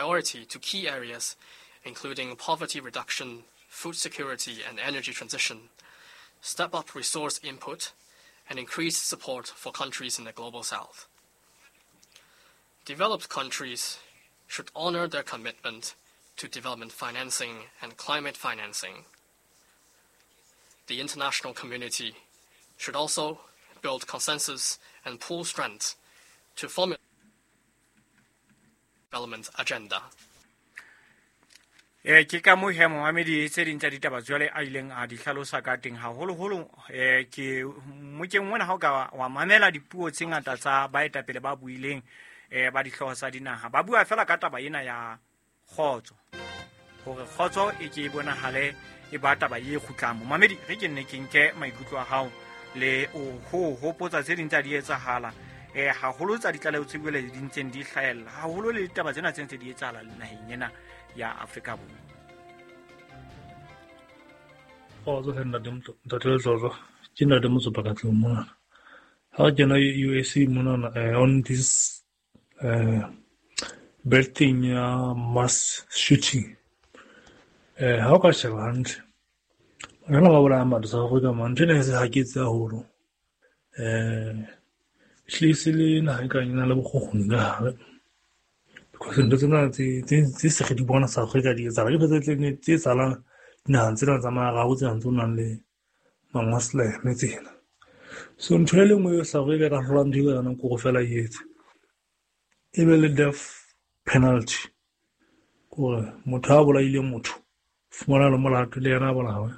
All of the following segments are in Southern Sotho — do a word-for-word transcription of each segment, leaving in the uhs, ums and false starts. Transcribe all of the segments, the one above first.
priority to key areas, including poverty reduction, food security and energy transition, step up resource input, and increase support for countries in the Global South. Developed countries should honor their commitment to development financing and climate financing. The international community should also build consensus and pool strength to formulate development agenda. Eh ke ka mo he momamedi tse ding tsa ditaba jwale a ileng a di hlalosa ka teng haholoholo eh ke mokeng mona ha o ka wa mamela dipuo tse ngata tsa baetapele ba buileng eh ba dihlooho tsa dinaha ba bua fela ka taba ena ya kgotso hore kgotso e ke e bonahale e ba taba e kgutlang. Momamedi re ke nne ke nke maikutlo a hao le o ho hopotsa tse ding tsa di etsahala eh haholo tsa ditlaleho tse buele di ntseng di hlahella haholo le ditaba tsena tse ntse di etsahala naheng ena ya Afrika Borwa. Kgotso he ntate ntate Letlotlo, ke ntate Motsopa ka tlung mona. Ha re kena U S A monana on this uh, bad thing ya mass shooting. Eh ha o ka sheba hantle, bana ba bolayang batho South Africa man, ntho ena e se haketse haholo. Eh ehlile se le naha e kang e na le bokgokgoni ka hare. Because ntho tsena tse tse se re di bona South Africa di etsahala, ke ntho tse tse etsahalang dinaheng tsena tsa Maarabo tsena tse nang le ma-Muslim tsena. So ntho e le nngwe eo South Africa e ka hlolang ntho e ka yona ke hore feela e etse e be le death penalty, kore motho a bolaile motho fumana le molato le yena a bolawe.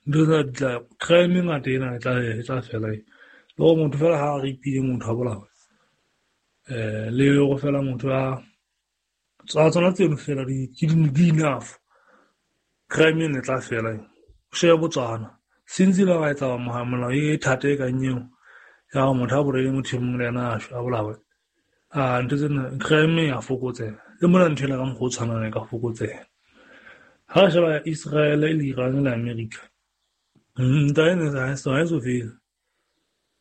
Ntho tsena di tla crime e ngata ena e tla e tla fela e. Le hore motho fela ha a rape-ile motho a bolawe, eh le hore fela motho a tsa tsona tseno fela di ke di enough, crime ena e tla fela. O shebe Botswana since ile ba etsa molao e thata e kang eo ya hore motho a bolaile motho e mong le yena a shwe a bolawe, a ntho tsena crime ya fokotseha. Le mona ntho ena ka mokgwa o tshwanang e ka fokotseha. Ha re sheba Israel le Iran le America, ntwa ena ha e so ha e so fele,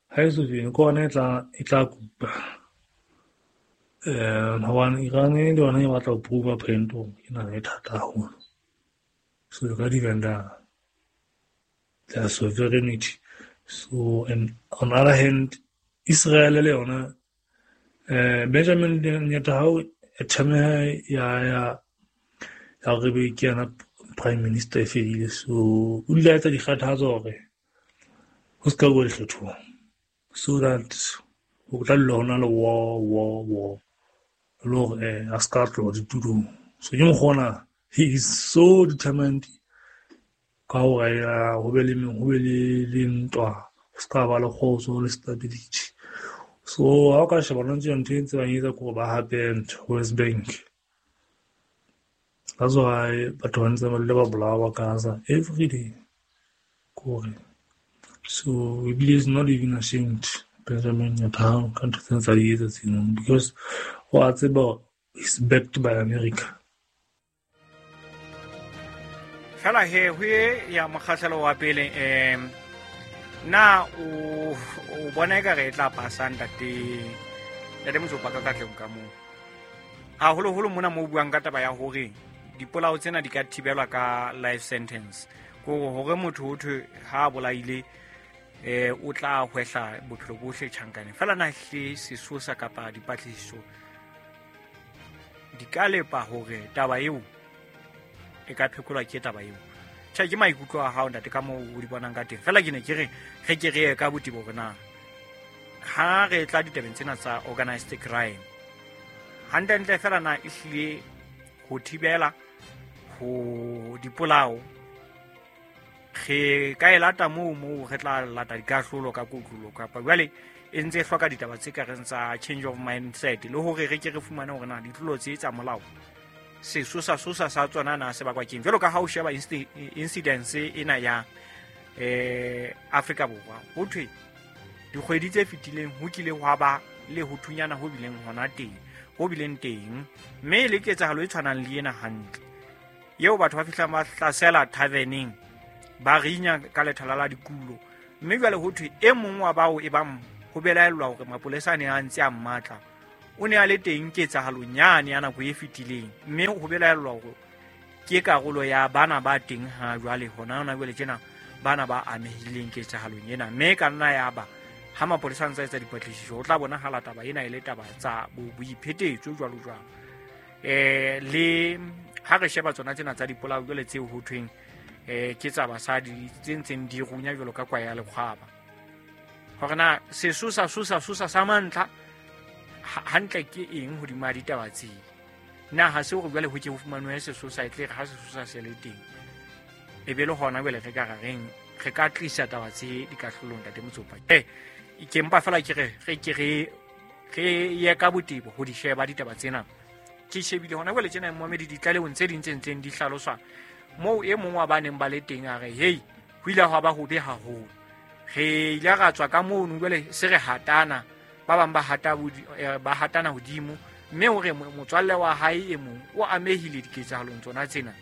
ha e so fele, ke hona e tla e tla kupa. Eh hobane Iran le yona e batla ho prove a point hore ke naha e thata haholo, so e ka defend-a their sovereignty. So and on other hand Israel le yona eh Benjamin Netanyahu e thameha ya ya ya hore be ke yena prime minister e fedile, so o ile a etsa dikgathatso hore ho se ka bua dikgethong so that ho tla dula ho na le war war war le hore eh a se ka tloha ditulong. So ke mokgwa ona he is so determined ka hore ho be le ho be le le ntwa, ho se ka ba le kgotso le stability. So ha o ka sheba hona tje ntho e ntse ba etsa ke hore ba hape ntho West Bank. That's why batho ba ntse ba dula ba bolawa Gaza every day. Kore so ebile is not even ashamed Benjamin Netanyahu ka ntho tsena tsa di etsa tseno, because wa tseba he's backed by America. Fela he ho e ya mokgahlelo wa pele em na o o bona ekare e tla pasa ntate ntate Motsopa ka katleng ka moo haholoholo mona mo buang ka taba ya hore dipolao tsena di ka thibelwa ka life sentence, ko hore motho ho thwe ha a bolaile eh o tla hwehla bophelo bohle tjhankaneng. Fela na hle sesosa kapa dipatlisiso di ka lepa hore taba eo e ka phekolwa ke taba eo? Tjhe, ke maikutlo a hao ntate ka moo o di bonang ka teng. Fela ke ne ke re re ke re ye ka botebo hore na ha re tla ditabeng tsena tsa organized crime hantlentle fela na ehlile ho thibela ho dipolao re ka e lata moo moo re tla lata dikahlolo ka kotlolo, kapa jwale e ntse e hloka ditaba tse ka reng tsa change of mindset le hore re ke re fumane hore na ditlolo tse tsa molao sesosa sosa sa tsona na se bakwa keng. Jwalo ka ha o sheba incidence ena ya eh Afrika Borwa, ho thwe dikgwedi tse fetileng ho kile hwa ba le ho thunyana ho bileng hona teng ho bileng teng, mme le ketsahalo e tshwanang le ena hantle eo batho ba fihlang ba hlasela taverneng ba rinya ka lethala la dikulo, mme jwale ho thwe e mong wa bao e bang ho belaellwa hore mapolesa a ne a ntse a mmatla o ne a le teng ketsahalong yane ya nako e fetileng, mme ho belaellwa hore ke karolo ya bana ba teng ha jwale hona hona jwale tjena bana ba amehileng ketsahalong ena. Mme ka nna ya ba ha mapolesa a ntsa etsa dipatlisiso ho tla bonahala taba ena e le taba tsa boiphetetso jwalo jwalo. Eh le ha re sheba tsona tsena tsa dipolao jwale tseo ho thweng eh ke tsa basadi tse ntseng di runya jwalo ka kwa ya lekgwaba, hore na sesosa sosa sosa sa mantlha hantle ke eng hodima ditaba tse. Na ha se hore jwale ho ke ho fumanwe sesosa e tle re ha sesosa se le teng e be le hona jwale re ka ra reng re ka tlisa taba tse dikahlolong ntate Motsopa. Eh ke mpa fela ke re re ke re re ye ka botebo ho di sheba ditaba tsena. Ke shebile hona jwale tjena momedi ditlalehong tse ding tse ntseng di hlaloswa moo e mong wa ba neng ba le teng a re hei ho ile hwa ba hobe haholo, re ile ra tswa ka mono jwale se re hatana, ba bang ba hata ba hatana hodimo, mme hore motswalle wa hae e mong o amehile diketsahalong tsona tsena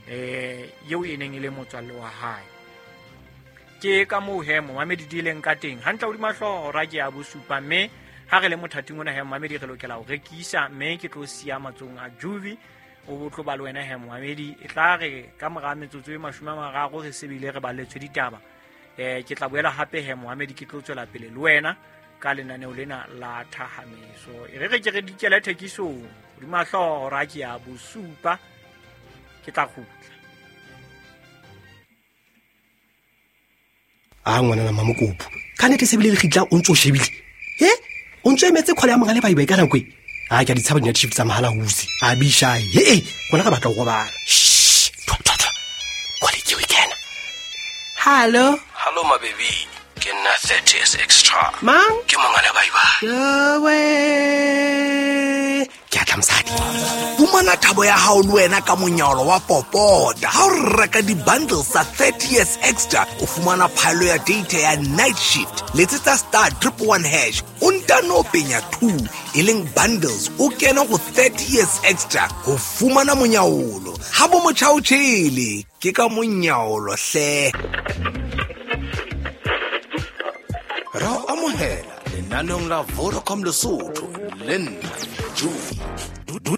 eh eo e neng e le motswalle wa hae. Ke ka moo he momamedi di leng ka teng hantle hodima hlooho ra ke ya bosupa, mme ha re le mothating ona he momamedi re lokela ho rekisa, mme ke tlo siya matsong a Juvi o botlo ba le wena he momamedi. E tla re ka mora metsotso e mashome a mararo re sebile re balletswe ditaba, eh ke tla boela hape he momamedi ke tlo tswela pele le wena ka lenaneo lena la thahameso. E re re ke re dikele thekisong hodima hlooho ra ke ya bosupa, ke tla kgutla. A ngwana Mamokopo ka nete sebile le kgitla o ntso shebile he o ntso emetse khole ya mongale ba iba ka nako e a ke di tshaba di shift tsa mahala huse a bisha he gona ga batla go robala. Shh thwa thwa thwa khole ke o kena. Hello hello my baby, ke nna thirty S extra mang ke mongale ba iba yowe ke atla mosadi. Fumana thabo ya hao le wena ka monyalo wa popota. Ha o reka di-bundles tsa thirty years extra, o fumana phaello ya data ya night shift. Letsetsa star triple one hash, o ntano penya two, e leng bundles, o kene go thirty years extra ho fumana monyaolo. Ha bo motjha o tjhele, ke ka monyaolo hle. Ra o amohela lenaneong la Vodacom Lesotho le nna Juvi.